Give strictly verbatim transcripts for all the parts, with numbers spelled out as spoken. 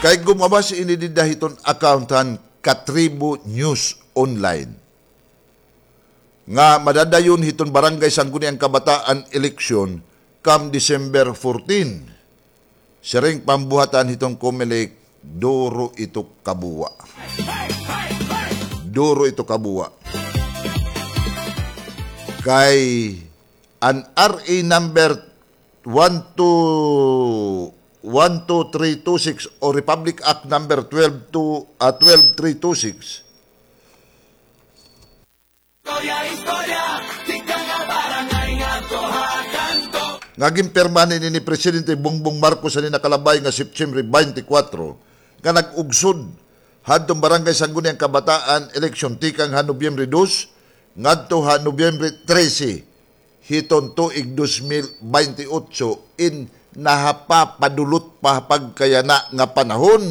Kay gumabas ini dida hiton account han Katribo News Online nga madadayon hiton Barangay Sangguniang Kabataan eleksyon kam December fourteen. Siring pa an buhatan hiton Comelec, duro ito kabuwa. Duro ito kabuwa. Kay an R A number one two, one two three two six o Republic Act number twelve two, ah, twelve three two six, nga ginpirmahan ini ni Presidente Bongbong Marcos han nakalabay nga September twenty-four, nga nag-ugsod hadton Barangay Sangguniang Kabataan eleksyon tikang ha Nobyembre dos ngadto ha Nobyembre trese hiton tuig dos mil baynte otso, in nahapapadulot pa ha pagkayana nga panahon.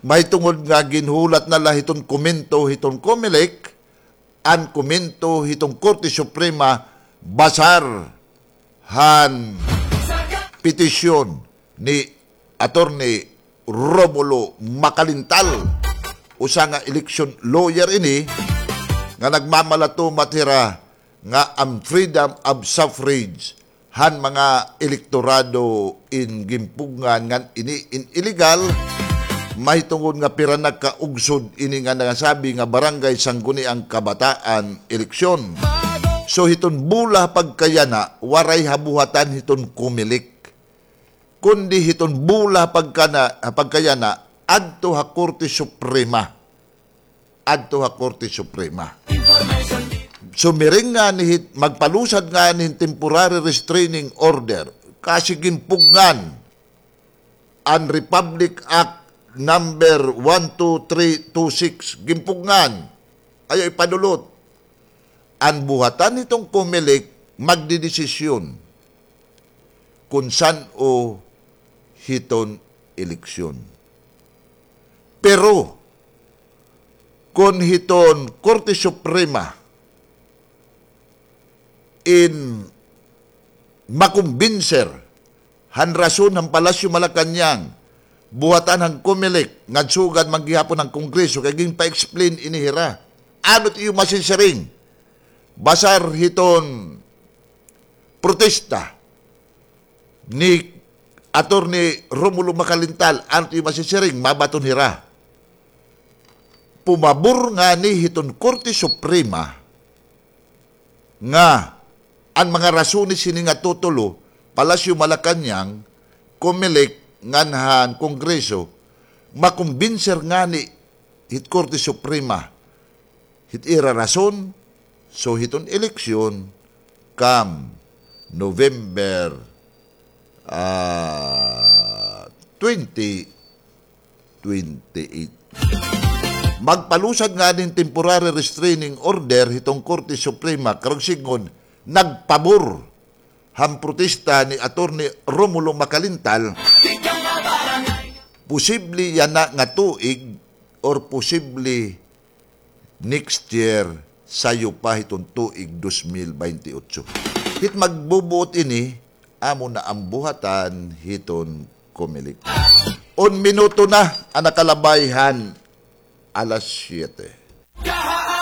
Mahitungod nga ginhulat na la hiton komento hiton Comelec, an komento hiton Korte Suprema basar han petisyon ni Attorney Romulo Macalintal, usa nga election lawyer ini nga nagmamalatumat hira nga an freedom of suffrage han mga elektorado in ginpugngan ngan ini in illegal, mahitungod nga pira na ka ugsod ini nga nasabi nga Barangay Sangguniang Kabataan eleksyon. So, hiton bula ha pagkayana, waray ha buhatan hiton Comelec, kundi hiton bula ha pagkana-, ha pagkayana, adto ha Korte Suprema. Adto ha Korte Suprema. Sumiring ngani hit, magpalusad ngani hin temporary restraining order, kasi ginpugngan an Republic Act number one two three two six, ginpugngan. Ayaw ipadulot. An buhatan hiton Comelec magdedesisyon kon san-o hiton eleksyon. Pero, kon hiton Korte Suprema in makumbinser han rason han Palasyo Malacañang, buhatan han Comelec, ngan sugad man gihapon han Kongreso, kay ginpa-explain ini hira. Ano it iyo masisiring? Basar hiton protesta ni Attorney Romulo Macalintal, ano it iyo masisiring, mabaton hira. Pumabor ngani hiton Korte Suprema nga an mga rasones hini nga tutulo, Palasyo Malacañang, Comelec, ngan han Kongreso, makumbinser ngani hit Korte Suprema hit ira rason, so hiton eleksyon kam November, ah, twenty twenty-eight. Magpalusad ngani hin temporary restraining order hiton Korte Suprema, karuyag sidngon, nagpabor han protesta ni Attorney Romulo Macalintal, posible yana nga tuig or posible next year, sayo pa hiton tuig dos mil baynte otso. Hit magbubuot ini, amo na an buhatan hiton Comelec. Un minuto na an nakalabay han alas siyete.